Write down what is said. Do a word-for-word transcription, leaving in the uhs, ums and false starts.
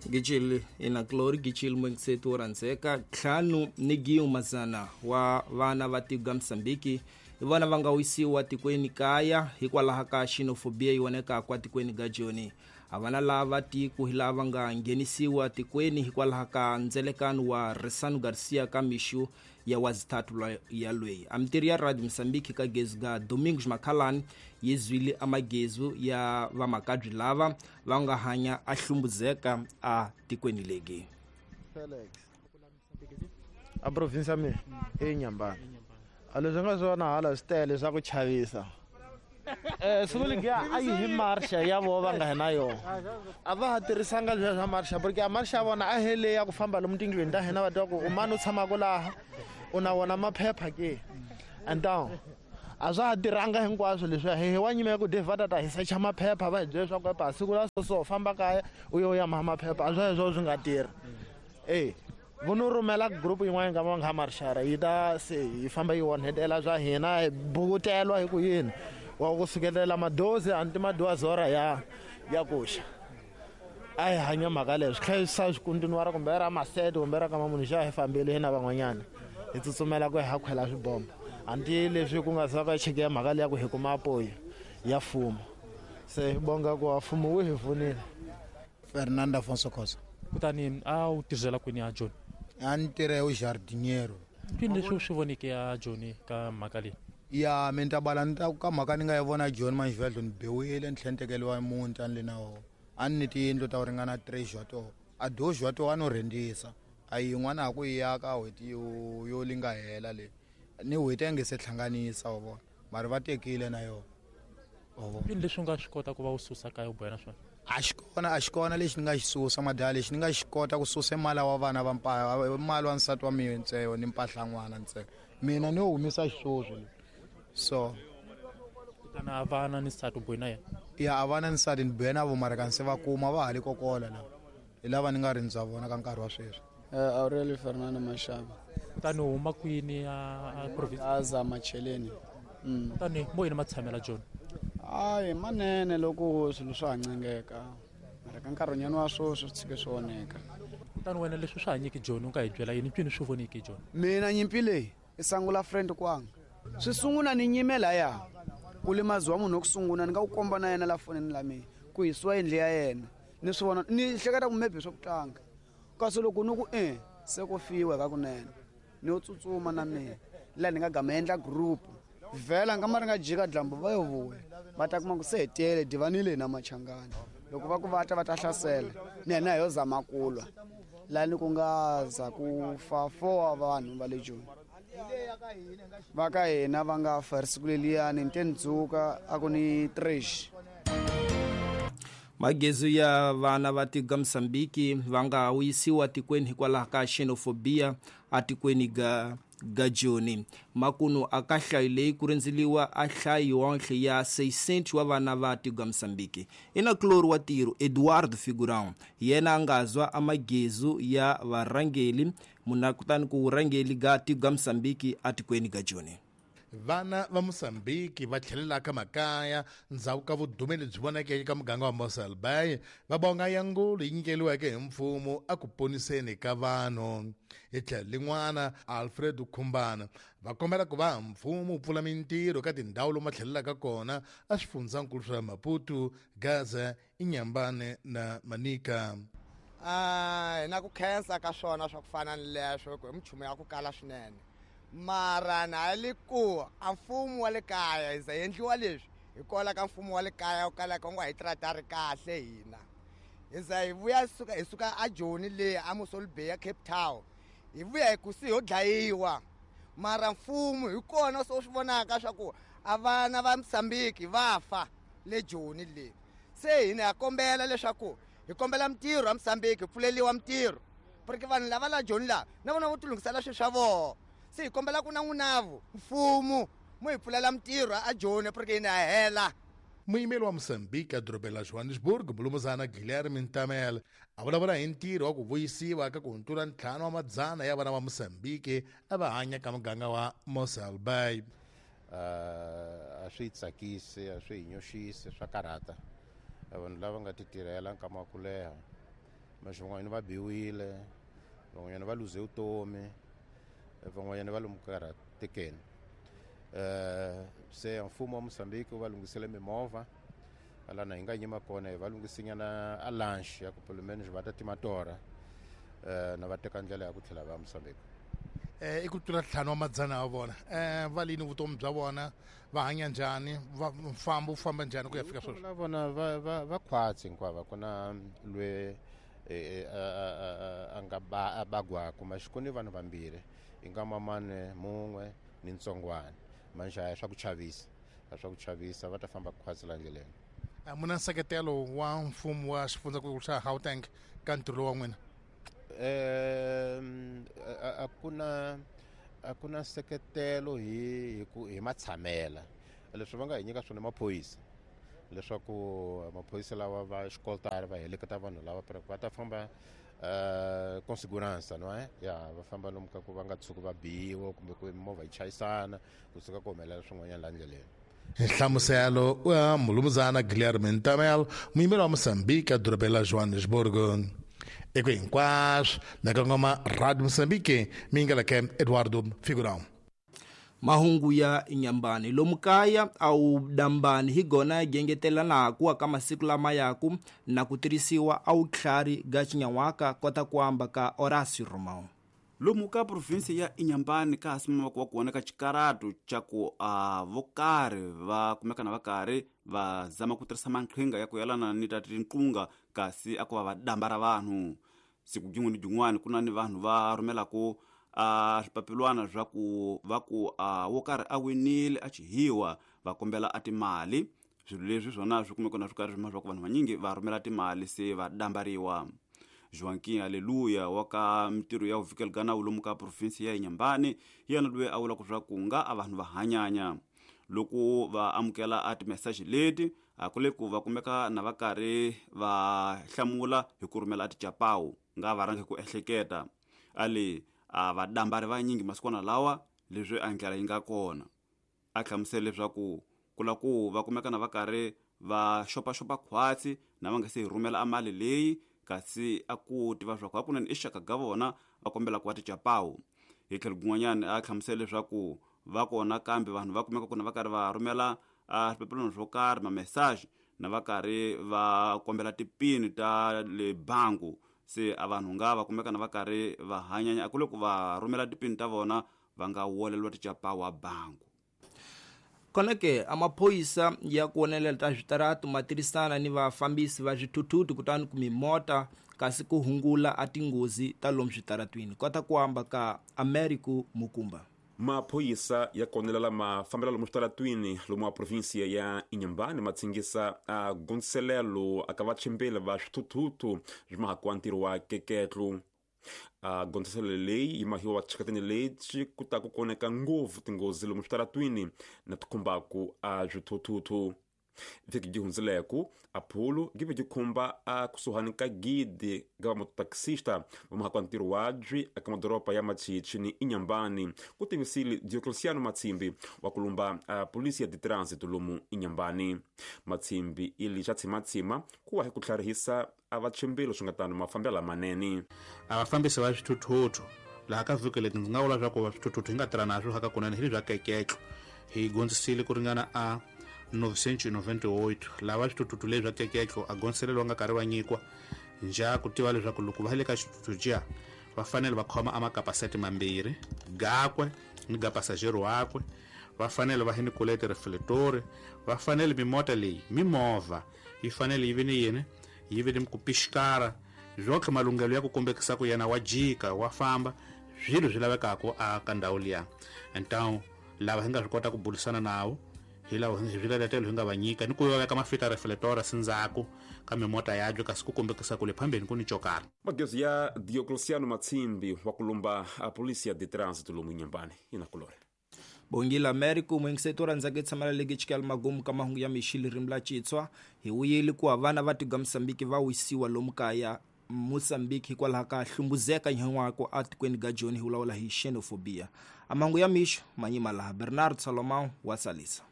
Gicil inaklori gicil mwengsetu oranzeka ntlhanu ni giu mazana wa vana va tiko ga Mozambique hi vona va nga wisiwa tikweni kaya hikwalaho ka xenofobia yi vonekaka tikweni ga Joni. A vana lava tiko hi lava nga nghenisiwa tikweni hikwalaho ka ndzelekano wa Resano Garcia ka mixu ya wazithathu ya lweyi. A mitirhi ya Radio Mozambique ka gezu ga Domingos Makhalani yi zwile amagezu ya vamakabyi lava va nga hanya a hlumbuzeka a tikweni legi. Felix a province mi e Nyambana a leswi nga swona hala swi tele swa ku chavisa. Eh siku ya a yi hi marsha ya vo va nga hina yo a va ha tirhisanga leswi swa marsha porque a marsha vona a hele ya ku famba lomu tindlwini ta hina va twa ku u mani u tshamaka laha u na wona maphepha ke and down a swa ha tirhanga hinkwaswo leswi hi wa nyima ya ku va ta ta hi secha maphepha va hi byela leswaku epa siku la so so famba kaya u yo ya maha maphepha a swa swo swi nga tirhi. Eh vono rhumela group yin'wana ka va nga marshara yi ta se yi famba yi onhetela swa hina hi bukutelwa hi ku yini wa ku sukelela madozi anti madozi ya ya kuxa a hi hanya mhaka leyo swi tlhela swi kontinuwara kumbe ra masete kumbe ra ka mamunhu xa hi fambile hina van'wanyana hi tsutsumela ku hi ha khwela swibombo anti leswi ku nga za ka cheke ya mhaka leya ku hi kuma apoyi ya mfumo se hi bonga ku mfumo wu hi pfunile. Fernando Afonso Khosa. Kutani a wu tirhela kwini ya Joni? A ni tirha u jardiniero. Kwini leswi u swi voneke ya Joni ka mhaka leyi? Ya mi ta bala ni ta ka mhaka ni nga yi vona Joni manxivhedlo ni biwile ni tlhela ni tekeriwa muti a ni le na wona a ni ni tiyindlu ta ku ringana three to a doze to a no rhendisa a yin'wana a ku yi aka n'hweti yo yo li nga hela le ni n'hweti a nge se hlanganisa wa vona mara va tekile na yona wa vona. Kwini leswi u nga swi kota ku va u susa kaya u boha na swona? A xi kona a xi kona lexi ni nga xi susa madala lexi ni nga xi kota ku susa mali wa vana va mpa mali wa nsati wa mina ntsena ni mpahla n'wana ntsena mina ni humesa xisweswo so kutani a vana ni nsati u bohi na yena? Ya a vana ni nsati ni bohe na vo mara kanse va kuma va ha le kokola la hi lava ni nga rindza vona ka nkarhi wa sweswi. Aurelio Fernando Mashaba. Kutani u huma kwini a province? Aza Macheleni. Kutani mo yini matshamela Joni? Hayi manene loko swilo swa ha ncengeka mara ka nkarhinyana wa sweswi swi tshike swi onheka. Kutani wena leswi swi hanyeki Joni u nga hi byela yini mpfini swi voneke Joni? Mina nyimpi leyi i sangula friend kwanga swi sungula ni nyime laya ku limaziwa munhu wo sungula ni nga ku komba na yena la fonini la mina ku hisiwa yindlu ya yena ni swi vona ni hleketa ku maybe swa ku tlanga kasi loko ni ku e se ku fiwa ka kunene ni yo tsutsuma na mina laha ni nga gama endla group vhela nga ma ri nga jika dlambu va yo vuya va ta kuma ku se hetele divanile na machangani loko va ku va ta va ta hlasela ni yena hi yo zama ku lwa laha ni ku nga za ku fa four wa vanhu va le Joni va ka hina va nga fa ri siku leliyani ni te ni dzuka a ku ni trash. Magezu ya vana va tiko ga Mozambique va nga wisiwa tikweni hikwalaho ka xenofobia a tikweni ga ga Joni. Makunu a ka hlayo leyi ku rindzeliwa a hlayo yonhle ya seishentos wa vana va tiko ga Mozambique. Ina klori wa tiro Eduardo Figurão yena a nga zwa amagezu ya varhangeli muna kutani ku rhangeli ga tiko ga Mozambique a tikweni ga Joni. Vana va Mozambique va tlhelelaka makaya ndzhaku ka vudumeli lebyi vonakeke eka muganga wa Mossel Bay va bonga yangulo yi nyikeliweke hi mfumo a ku poniseni ka vanhu. Hi tlhelo lin'wana Alfred Khumbana va kombela ku va mfumo wu pfula mintirho ka tindhawu lomu va tlhelelaka kona a swifundzankulu swa Maputo, Gaza, Inhambane na Manica. Ah, hi na ku khensa ka swona swa ku fana ni leswo ku hi minchumu ya ku kala swinene mara na le ku a mfumo wa le kaya hi za endliwa leswi hikwalaho ka mfumo wa le kaya wu kalaka wu nga hi tratari kahle hina hi za hi vuya suka hi suka a Joni le a Mossel Bay ya Cape Town hi vuya hi ku si ho dlayiwa mara mfumo hi kona so swi vonaka swa ku a vana va Mozambique va fa le Joni le se hina ha kombela leswaku hi kombela mintirho ya Mozambique hi pfuleliwa mintirho porque vanhu lava la Joni la na vona vo tilunghisela swilo swa vona se hi kombela ku na n'winavu mfumo mu hi pfulela mintirho a Joni porque hina ha hela. Muyimeri wa Mozambique edorobeni la Johannesburg Mulumuzana Guilherme Ntamel a vulavula hi ntirho wa ku vuyisiwa ka ku hundzula ntlhanu wa madzana ya vana va Mozambique a va hanya ka muganga wa Mossel Bay. A swi tsakisi a swi hi nyoxisi swa karhata vanhu lava nga ti tirhela nkama wa ku leha Mas van'wanyana va biwile, van'wanyana va luze vutomi, van'wanyana va lomu karhatekeni. Uh, se mfumo wa Mozambique wu va lunghisele mimovha lana hi nga yima kona hi va lunghisinyana a lunch ya ku pelo menos va ta tima torha uh, na va teka ndlela ya ku tlhela va Mozambique. Eh, i ku tlula ntlhanu wa madzana wa vona eh, va lini vutomi bya vona, va hanya njhani, va mfambo wu famba njhani ku ya fika sweswi? La vona va va va khwatsi hinkwavo, ku na lwe eh, a nga ba a bagwaku maxikoni vanhu vambirhi i nga mamane mun'we ni ntsongwana. Manjhe a swa ku chavisa, a swa ku chavisa, va ta famba khwatsi la ndleleni. Muna nseketelo wa mfumo wa xifundzankulu xa Gauteng ka ntirho lowu wa n'wina? Eh, a ku na a ku na nseketelo hi hi ku hi matshamela. Leswi va nga hi nyika swona maphorisa, leswaku maphorisa lawa va xikolotari va heleketa vanhu lava va ta famba uh, com segurança, não é? Ya, va famba lomu ka ku va nga tshuki va biwa kumbe ku mimovha yi chayisana kusuka ku humelela swin'wanyana la ndleleni. Nhlamuselo wa mulumuzana Guilherme Ntamel, muyimeri wa Mozambique edorobeni la Johannesburg. Eko hinkwaswo na kongoma Radio Mozambique, mingaleke Eduardo Figurão. Mahungu ya Inhambane lomu kaya au dambani hi gona gengetelanaku ka masiku lama yaku na ku tirhisiwa au tlhari ga Xinyawaka kota ku amba ka Horacio Romão. Lomu ka provinsi ya Inhambane ka hasimama ku wa kona ka xikaratu xa ku a vokarhi va kumekana va karhi va zama ku tirhisa maqhinga ya ku yelana ni ta tinqunga kasi a ku va va damba ra vanhu. Siku jin'we ni jin'wana ku na ni vanhu va rhumelaku a swipapilwana swa ku va ku a wo karhi a winile a chihiwa va kombela a timali. Swilo leswi swona swi kumeka na swi karhi swi ku vanhu vanyingi va rhumela timali se va dambariwa. Joaquim Aleluia wa ka mintirho ya vuvikeli ka nawu lomu ka provinsi ya Inhambane yena loyi a vulaka swa ku nga a vanhu va hanyanya loko va amukela a timeseji leti a ku le ku va kumeka na va karhi va hlamula hi ku rhumela a ticapawu nga va rhangi ku ehleketa ale a va dambari vanyingi masikwana lawa leswi a ndlela yi nga kona. A hlamusela leswaku ku la ku va kumeka na va karhi va xopaxopa khwatsi na va nga se hi rhumela a mali leyi kasi a ku tiva swa ku hakunene i xaka ga vona va kombela ku va ticapawu. Hi tlhelo kun'wanyana a hlamusela leswaku va kona kambe vanhu va kumeka ku na va karhi va rhumela a swipapilwana swo karhi mamesaji na va karhi va kombela tipini ta le bangu se a vanhu nga va kumeka na va karhi va hanyanya a ku le ku va rhumela tipini ta vona va nga woleliwa ticapawu a bangu. Kona ke amaphoyisa ya ku onelela ta switaratu ma tirhisana ni vafambisi va swithuthuthu kutani ku mimota kasi ku hungula a tinghozi ta lomu switaratwini. Kota ku amba ka Americo Mukumba. Maphoyisa ya konelela mafambelo lomu switaratwini lomu wa provinsia ya Inhambane ma tsingisa a gondzelelo aka vachimbeli va swithuthuthu swi mahakuwa ntirho wa keketlu. A gondzelelo leyi yi mahiwa vachikatini leti ku ta ku koneka ngopfu tinghozi lomu switaratwini na ti khumbaku a swithuthuthu. Vhiki ji hundzileku aphulo gi ve gi khumba a kusuhani ka gidi ga vamototaxista va mahakuwa ntirho wabyi eka madoroba ya Machichi ni Inhambane ku tivisile Diocleciano Matsimbi wa kulumba a polisi ya de lomu Inhambane. Matsimbi ili xa tshimatsima ku wa hi ku tlharihisa a vachimbilo swi nga tano mafambelo lamanene. A vafambisi va swithuthuthu laha ka vhiki leti ndzi nga vula swa ku va swithuthuthu hi nga tirha na swo ka kunene hi le bya keketlo hi gondzisile ku ringana a novecentos e noventa e oito lava swithuthuthu leswi bya keketlo a gondzelelo va nga karhi va nyikiwa nja ku tiva leswaku loko va le ka xithuthuthu jiya va fanele va khoma a makapasete mambirhi gakwe ni ga pasajero wakwe, va fanele va hi ni kolete reflector, va fanele mimota leyi mimovha yi fanele yi vi ni yini yi vi ni ku pixikara zwotlhe malunghelo ya ku kombekisa ku yena wa jika wa famba swilo swi lavekaka a ka ndhawu liya. Então lava hi nga swi kota ku burisana nawo hi lava hi swiletelo hi nga va nyika ni ku va veka mafita reflector sindzhaku ka mimota yabyo kasi ku kombekisa ku le phambeni ku ni cokara. Magezi ya Diocleciano Matsimbi wa kulumba a polisi ya de trânsito lomu Inhambane inakulore. Bongile Americo mwingiseto rhandzaka tshamela legi chikela magumu ka mahungu ya mixili ririmi la Xitswa hi wuyeli ku vana va tiga Mozambique va wisiwa lomu kaya Mozambique hikwalaho ka hlumbuzeka nyan'wako atikweni ga Joni hi vulavula hi xenophobia. A mahungu ya mixo manyima laha Bernard Salomão wa tsalisa.